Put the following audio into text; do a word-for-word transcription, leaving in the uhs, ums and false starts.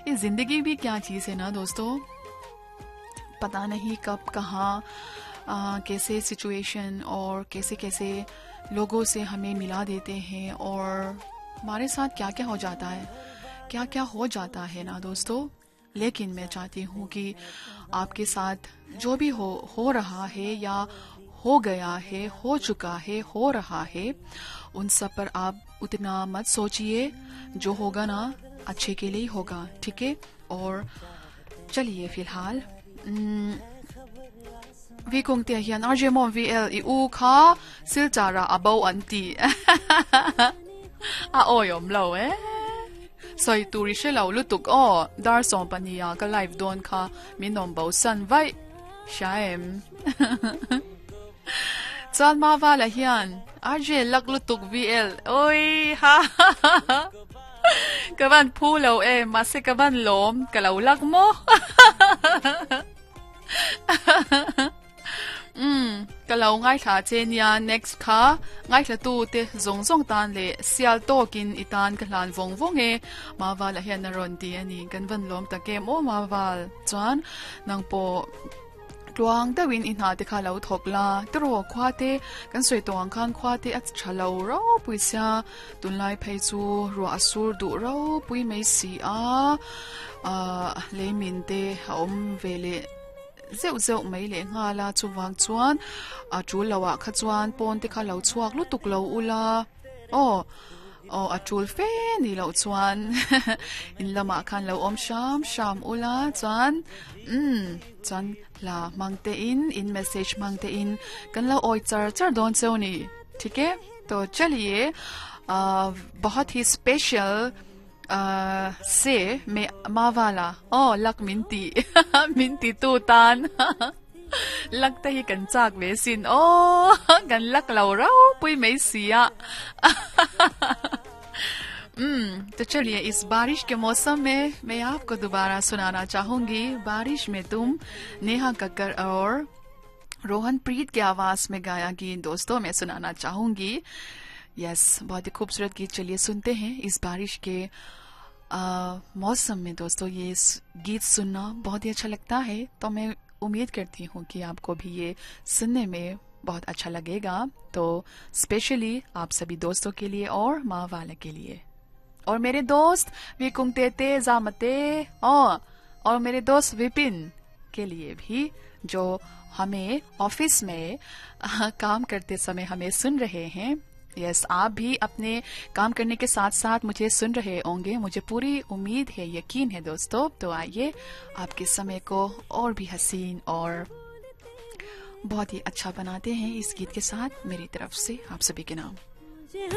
ये जिंदगी भी क्या चीज़ है ना दोस्तों, पता नहीं कब कहाँ आ, कैसे सिचुएशन और कैसे कैसे लोगों से हमें मिला देते हैं और हमारे साथ क्या क्या हो जाता है, क्या क्या हो जाता है ना दोस्तों। लेकिन मैं चाहती हूँ कि आपके साथ जो भी हो हो रहा है या हो गया है, हो चुका है, हो रहा है, उन सब पर आप उतना मत सोचिए। जो होगा ना अच्छे के लिए ही होगा, ठीक है। और चलिए फिलहाल vi kong te hian R J mom V L i u kha silchara abo anti a oyom lo e soi turi shelo lutuk o dar som pania ka live don kha minom bo san vai shaem chan ma wala hian R J lak lutuk V L oi ha ka van phu lo e ma se ka van lom ka lo lak mo um ka lo ngai tha che nia next kha ngai thla tu te zong zong tan le sial tokin itan ka hlan vong vong e ma wala hian na ron ti ani kan van lom ta kem o ma wal chuan nang po tuang dawin in ha te kha lo thok la tro khwa te kan soi tawang khan khwa te a thalo ro puisia tunlai phei chu ro asur du ro pui mei si a a le min te om vele zeu zeu mai le nga la chuwang chuan a chul lawa kha chuan pon te kha lo chuak lutuk lo ula o o a chul fe ni lo chuan in lama khan lo om sham sham ula chuan um chuan la mangte in in message mangte in kan lo oi char char don cheu ni theek hai। तो चलिए बहुत ही special Uh, से मैं मावाला ओ luck minty minty tu tan lak te hi kan chak ve sin o kan lak lo rau pui mei sia हम्म। तो चलिए इस बारिश के मौसम में मैं आपको दोबारा सुनाना चाहूंगी बारिश में तुम, नेहा कक्कर और रोहन प्रीत के आवाज में गाया गीत दोस्तों मैं सुनाना चाहूंगी। यस, बहुत ही खूबसूरत गीत, चलिए सुनते हैं। इस बारिश के मौसम में दोस्तों ये गीत सुनना बहुत ही अच्छा लगता है, तो मैं उम्मीद करती हूँ कि आपको भी ये सुनने में बहुत अच्छा लगेगा। तो स्पेशली आप सभी दोस्तों के लिए और माँ वाले के लिए और मेरे दोस्त विकुंगते ते जामते और, और मेरे दोस्त विपिन के लिए भी, जो हमें ऑफिस में काम करते समय हमें सुन रहे हैं। यस, आप भी अपने काम करने के साथ साथ मुझे सुन रहे होंगे, मुझे पूरी उम्मीद है, यकीन है दोस्तों। तो आइए आपके समय को और भी हसीन और बहुत ही अच्छा बनाते हैं इस गीत के साथ। मेरी तरफ से आप सभी के नाम।